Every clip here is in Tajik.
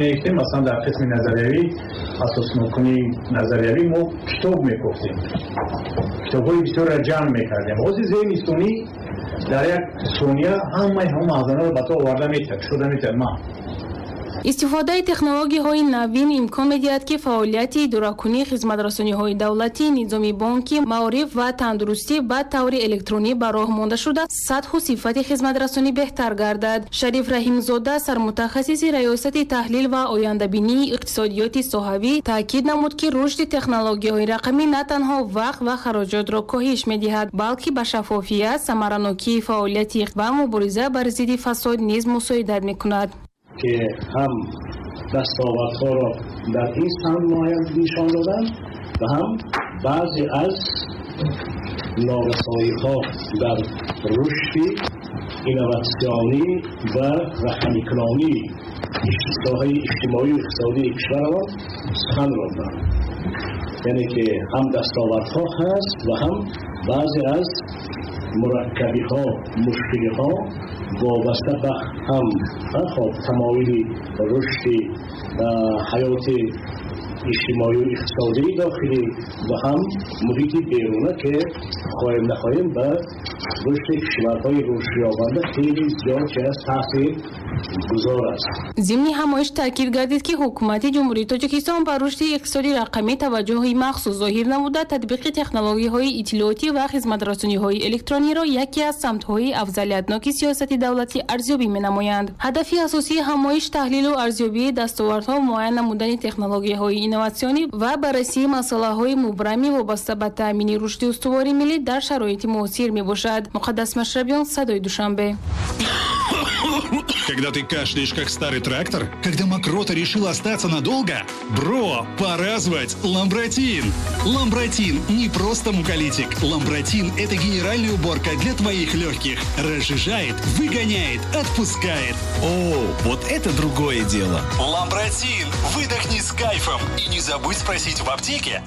Масалан, дар қисми назариявӣ, асоснокунии назариявӣ мо китоб мекофтем, китобҳои бисёрро ҷамъ мекардем. Ҳозир зеҳни сунъӣ дар як сония ҳамаи ҳамон маъзанаро ба ту оварда метиҳад, кушода метиҳад. Ма Истифодаи технологияҳои навин имкон медиҳад, ки фаъолияти идоракунии хизматрасониҳои давлатӣ, низоми бонкӣ, маориф ва тандурустӣ ба таври электронӣ ба роҳ монда шуда, сатҳу сифати хизматрасонӣ беҳтар гардад. Шариф Раҳимзода, сармутахассиси Раёсати таҳлил ва ояндабинии иқтисодиёти соҳавӣ, таъкид намуд, ки рушди технологияҳои рақамӣ на танҳо вақт ва хароҷотро коҳиш медиҳад, балки ба шаффофият, самаранокии фаъолияти ва мубориза бар зидди фасод низ мусоидат мекунад. Ки ҳам дастовардҳоро дар ин самт муайян нишон доданд ва ҳам баъзе аз норасоиҳо дар рушди инноватсионӣ ва рақамикунонии соҳаи иҷтимоию иқтисодии кишварамон сухан ронданд. Яъне ки ҳам дастовардҳо ҳаст ва ҳам баъзе аз мураккабиҳо, мушкилиҳо вобаста ба ҳам хоб тамоили рушди ҳаёти иҷтимоию иқтисодии дохилӣ ва ҳам муҳити беруна, ки хоҳем нахоҳем ба рушди кишварҳои рушдёбанда хеле зиёд чиз таъсир гузор аст. Зимни ҳамоиш таъкид гардид, ки Ҳукумати Ҷумҳурии Тоҷикистон ба рушди иқтисоди рақамӣ таваҷҷӯҳи махсус зоҳир намуда, татбиқи технологияҳои иттилоотӣ ва хизматрасониҳои электрониро яке аз самтҳои афзалиятноки сиёсати давлатӣ арзёбӣ менамоянд. Ҳадафи асосии ҳамоиш таҳлилу арзёбии дастовардҳо, муайян намудани технологияҳои инноватсионӣ ва баррасии масъалаҳои мубрами вобаста ба таъмини рушди устувори миллӣ дар шароити муосир мебошад. Муқаддас Машрабиён, Садои Душанбе. Когда ты кашляешь, как старый трактор? Когда мокрота решила остаться надолго? Бро, пора звать Ламбратин! Ламбратин не просто муколитик. Ламбратин – это генеральная уборка для твоих легких. Разжижает, выгоняет, отпускает. О, вот это другое дело. Ламбратин! Выдохни с кайфом и не забудь спросить в аптеке.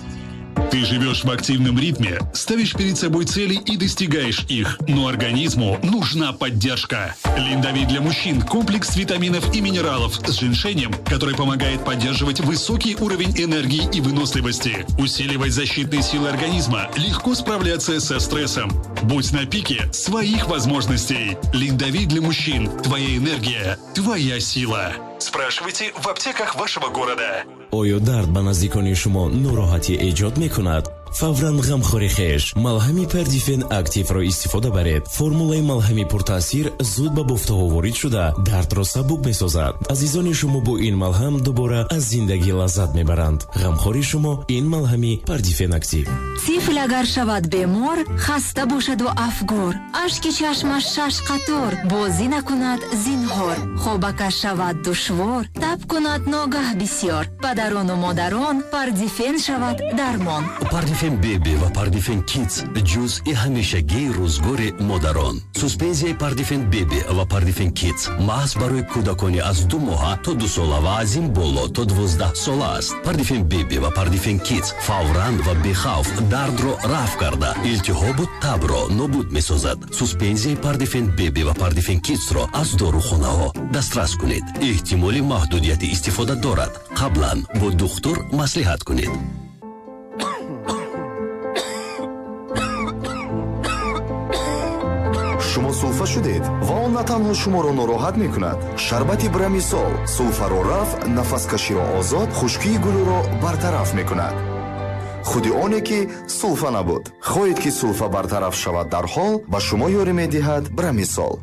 Ты живешь в активном ритме, ставишь перед собой цели и достигаешь их. Но организму нужна поддержка. Линдовит для мужчин – комплекс витаминов и минералов с женьшенем, который помогает поддерживать высокий уровень энергии и выносливости, усиливать защитные силы организма, легко справляться со стрессом. Будь на пике своих возможностей. Линдовит для мужчин – твоя энергия, твоя сила. Спрашивайте в аптеках вашего города. Оё дард ба наздикони шумо нороҳатӣ эҷод мекунад? Фавран ғамхори хеш малҳами Пардифен Активро истифода баред. Формулаи малҳами пуртаъсир зуд ба бофтаҳо ворид шуда, дардро сабук месозад. Азизони шумо бо ин малҳам дубора аз зиндагӣ лаззат мебаранд. Ғамхори шумо ин малҳами Пардифен Актив. Тифл агар шавад бемор, хаста бошаду афгор, ашки чашмаш шаш қатор, бозӣ накунад зинҳор, хобакаш шавад душвор, таб кунад ногаҳ бисёр, падарону модарон, Пардифен шавад дармон. Пардифен Беби ва Пардифен Кидс ҷузъи ҳамешагии рӯзгори модарон. Суспензияи Пардифен Беби ва Пардифен Кидс маҳз барои кӯдакони аз 2 моҳа то 2 сола ва аз ин боло то 12 сола аст. Пардифен Беби ва Пардифен Кидс фавран ва бехавф дардро рафъ карда, илтиҳобу табро нобуд месозад. Суспензияи Пардифен Беби ва Пардифен Кидсро аз дорухонаҳо дастрас кунед. Эҳтимоли маҳдудияти истифода дорад. Қаблан бо духтур маслиҳат кунед. Шумо сулфа шудед ва он на танҳо шуморо нороҳат мекунад. Шарбати Брамисол сулфаро рафъ, нафаскаширо озод, хушкии гулӯро бартараф мекунад. Худи оне ки сулфа набуд. Хоҳед, ки сулфа бартараф шавад дарҳол, ба шумо ёрӣ медиҳад Брамисол.